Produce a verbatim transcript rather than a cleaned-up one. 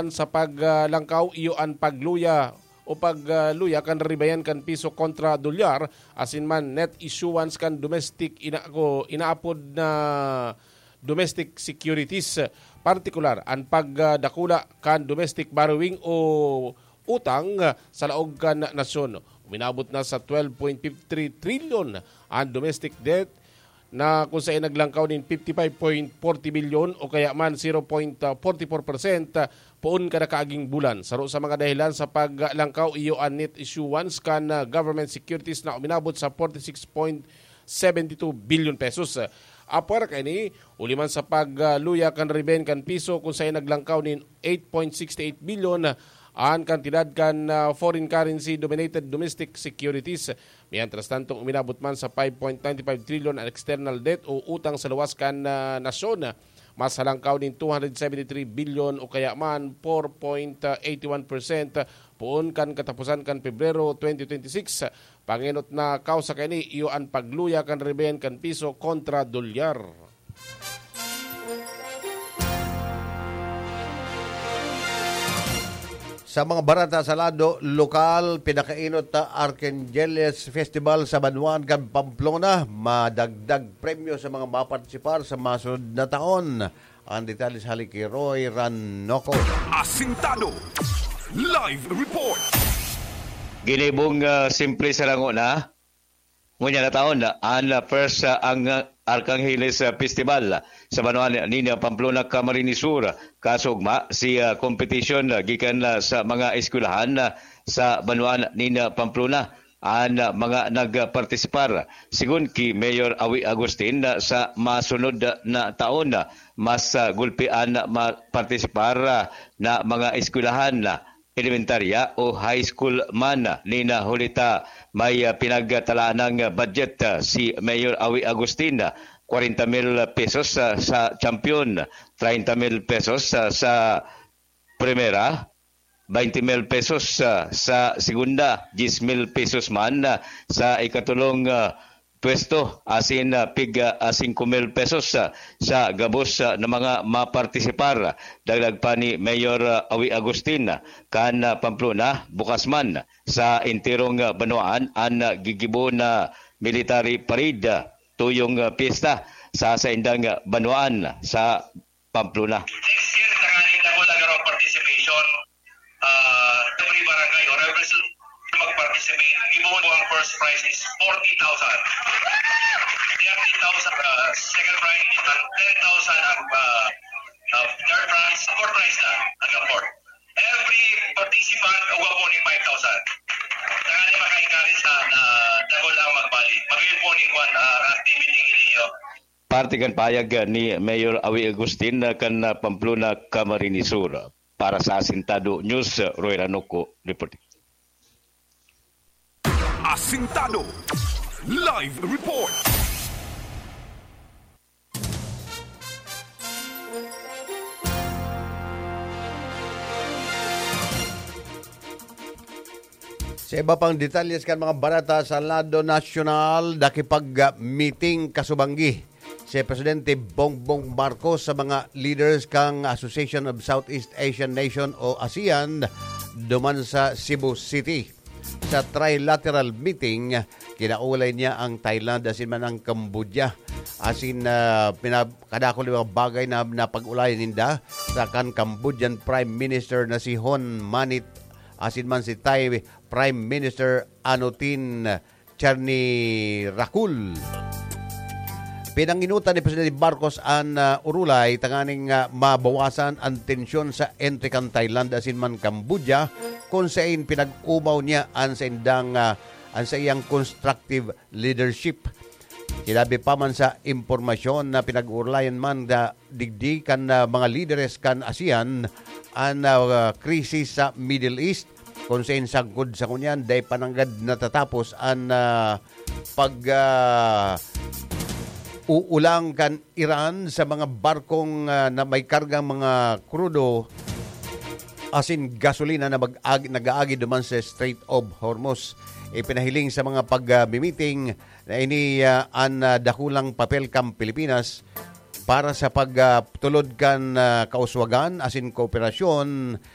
sa paglangkaw iyo an pagluya o pagluya kan ribayan kan piso kontra dolyar, asin man net issuance kan domestic ina-, ko, inaapod na domestic securities, partikular an pagdakula kan domestic borrowing o utang sa laog kan nasyon. Uminabot na sa twelve point fifty three trilyon an domestic debt na kung saan naglangkaw nin fifty five point forty bilyon o kaya man zero point forty four percent poon kada kaaging bulan. Saro sa mga dahilan sa paglangkaw iyo an net issuance kan, ah, government securities na uminabot sa forty six point seventy two billion pesos. Apwera kaini, huli man sa pagluya kan ribayan kan piso kung saan naglangkaw nin eight point sixty eight billion an kantidad kan, ah, foreign currency dominated domestic securities. Mientras tanto, uminabot man sa five point nine five trilyon an external debt o utang sa luwas kan, ah, nasyon. Mas halangkaw nin two hundred seventy three billion o kaya man four point eighty one percent poon kan kataposan kan Pebrero twenty twenty six. Pangenot na kausa kaini iyo an pagluya kan ribayan kan piso kontra dolyar. Sa mga barata sa lado lokal, pinakainot na Archangeles Festival sa banwaan kan Pamplona. Madagdag premyo sa mga mapartisipar sa masunod na taon. Ang detalye sa hali ki Roy Ranoco. Asintado. Live report. Ginibong, ah, simple sa lango na. Ngunyan na taon, an, ah, first, ah, ang, ah, Archangeles, ah, Festival sa banwaan nin Pamplona, Camarines Sur. Kasugma si, ah, competition, ah, gikan, ah, sa mga eskwelahan, ah, sa banwaan nin, ah, Pamplona. An, ah, mga nagpartisipar, sigon ki Mayor Awi Agustin, ah, sa masunod, ah, na taon, ah, mas, ah, gulpi an, ah, ma-, partisipar, ah, na mga eskwelahan, ah, elementarya o high school man. Nina huli ta may, ah, pinagtalaan ng budget, ah, si Mayor Awi Agustin, ah, kwarenta mil pesos, ah, sa champion, treinta mil pesos, ah, sa primera, baynte mil pesos, ah, sa segunda, diyes mil pesos man, ah, sa ikatulong, ah, pwesto, asin, ah, pig, ah, singko mil pesos, ah, sa gabos, ah, na mga mapartisipar. Dagdag pa ni Mayor, ah, Awi Agustin, ah, kan, ah, Pamplona, bukas man sa enterong, ah, banwaan an, ah, gigibo na military parade, ah, tuyong, ah, piyesta sa saindang, ah, banwaan sa Pamplona. Next year, tanganing na wala garo participation, ah, every barangay or every city mag-participate, gibohon ang first prize is forty thousand. Thirty thousand, ah, second prize is ten thousand ang, ah, ah, third prize, fourth prize na, ang fourth. Every participant, uga po ni five thousand. Tanganing maka-encourage sa, ah, dagol ang magbali. Magayon po ni kwan, ah, activity ninyo. Parte kan pahayag ni Mayor Awi Agustin kan Pamplona, Camarines Sur. Para sa Asintado News, Roy Ranuco reporting. Asintado Live Report. Sa iba pang detalyes kan mga barata sa lado nasyonal, nakipag-meeting kasubanggi si Presidente Bongbong Marcos sa mga leaders kan Association of Southeast Asian Nation o ASEAN duman sa Cebu City. Sa trilateral meeting, kinaulay niya ang Thailand asin man ang Cambodia. Asin, ah, pina-, kadakul na mga bagay na napag-ulayan ninda sa kan Cambodian Prime Minister na si Hun Manet asin man si Thai Prime Minister Anutin Charnvirakul. Pinanginutan ni Presidente Marcos an, ah, urulay tanganing, ah, mabawasan an tensyon sa entre kan Thailand asin man Cambodia, kun sain pinag-omaw niya an saindang, ah, an saiyang constructive leadership. Sinabi pa man sa impormasyon na pinag-uurlayan man na digdi kan, ah, mga lideres kan ASEAN an, ah, krisis sa Middle East, kun sain sagkod sa ngunyan, dai pa nanggad natatapos an, ah, pag, ah, uulang kan Iran sa mga barkong, ah, na may kargang mga krudo asin gasolina na mag-ag-, nag-aagi duman sa Strait of Hormuz. Ipinahiling sa mga pag, ah, meeting na ini, ah, an, ah, dakulang papel kan Pilipinas para sa pag, ah, tulod kan, ah, kauswagan asin kooperasyon